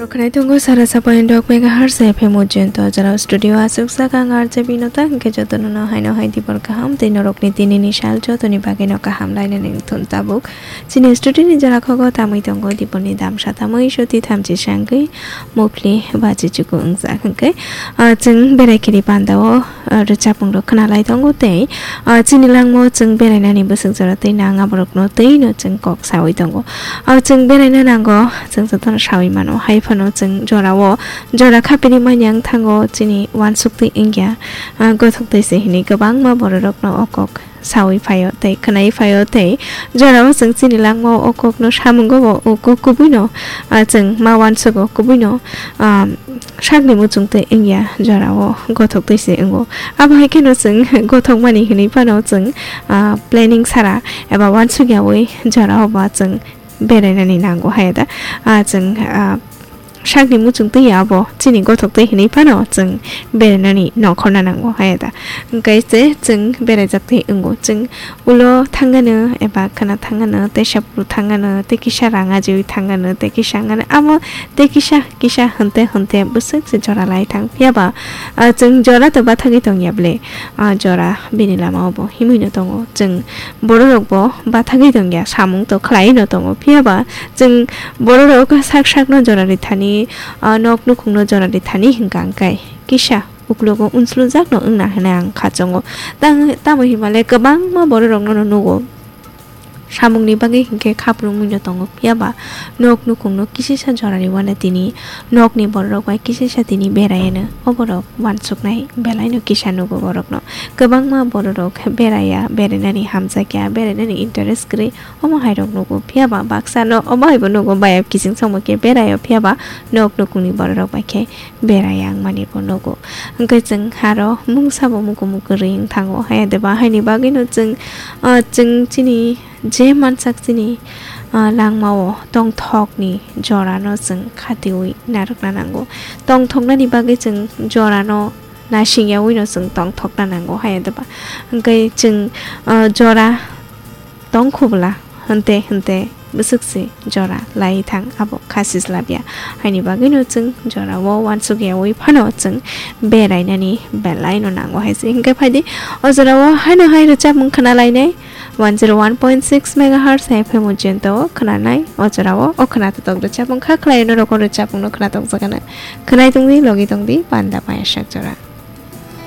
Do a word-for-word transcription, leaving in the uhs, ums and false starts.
Khwnai tongo sara sapoin dok megahertz F M ujento jora studio aswk saka ang R J Binota hwnkhe jotono no haino hai dibor kaham tei norokni tinini sal jotoni bagwino kaham lainani wngthun tabuk. Chini studio ni jora khogo tamwi tongo diboni damsa tamwi soti thamchi sangwi mokli bachi chuku wngjak hwnkhe, ah, chwng berai khiri pandao, ah, rwchapmung rok khna lai tongo tei, ah, chini langmao chwng berainani bwswk jora tei nang aborokno twi no chwng kok sawi tongo. Ah, chwng beraina nango, chwng jotono sawi mano, hai phano chwng jorao jora khapini manya wng thango chini uansuk twi wngya, ah, gothok twi se hinwi kwbangma bororokno o kok sawi phaio tei khwnai phaio tei jorao chwng chini langmao o kokno samungo bo o kok kubuino, ah, chwng ma uansugo kubuino, ah, sakni muchung twi wngya jorao gothok twi se wngo. Abo hai kheno chwng gothokmani hinwi phano chwng, ah, planning sara eba uansuk yaui jorao ba chwng berainani nango hai da. Ah, chwng, ah, sakni muchung twi abo chini gothok twi hinwi phano chwng berainani nongkhorna nango hai da. Hwnkhe se chwng beraijak twi wngo. Chwng ulo thangano eba khwna thangano tei sapru thangano tei kisa rang ajiwi thangano tei kisa wngano amo tei kisa kisa hwnte hwnte bwswk se jora lai thang. Phiya ba, ah, chwng jora to bathagwi tongya ble, ah, jora bini lama o bo himwi no tongo. Chwng bororok bo bathagwi tongya, samung to khlai no tongo. Phiya ba chwng bororok sak sakno jora rithani, ah, nok nukhungno jora rithani hwnkha hwnkhe kisa uklogo unslujakno wngna hwnwi ang kha chongo. Tang-, tamo himale kwbangma bororokno nugo. Samungni bagwi hinkhe khaprwngwi no tongo, phiya ba nok nukhungno kisisa jora rwano tini nokni bororok bai kisisa tini beraiano. O borok uansuknai belaino kisa nugo borokno. Kwbangma bororok beraiya, berainani hamjakya, berainani interest kwrwi omo hairok nugo, phiya ba baksano omo haibo nugo, bayap kiching songma khe beraio, phiya ba nok nukhungni bororok bai khe berai ang mani bo nugo. Hwnkhe chwng aro mungsa bo muku muku ring thango hai de ba, haini bagwi no chwng, ah, chwng chini je mansak chini, ah, langmao tongthokni jorano chwng khatiui narwkna nango. Tongthoknani bagwi chwng jorano nasingyaui no chwng tongthokna nango hai de ba. Hwnkhe chwng, ah, jora tongkhubla hwnte hwnte bwswk se jora lai thang abo kha sislabya. Haini bagwino chwng jorao uansukyaui phano chwng berainani belaino nango hai se. Hwnkhe phaidi o jorao haino hai rwchapmung khna lainai one zero one point six megahertz F M ujento khna nai o jorao o khna totok rwchapmung kha khlai norok o rwchapmungno khna tokjakgana. Khwnai tongdi, logi tongdi, panda payasak jora.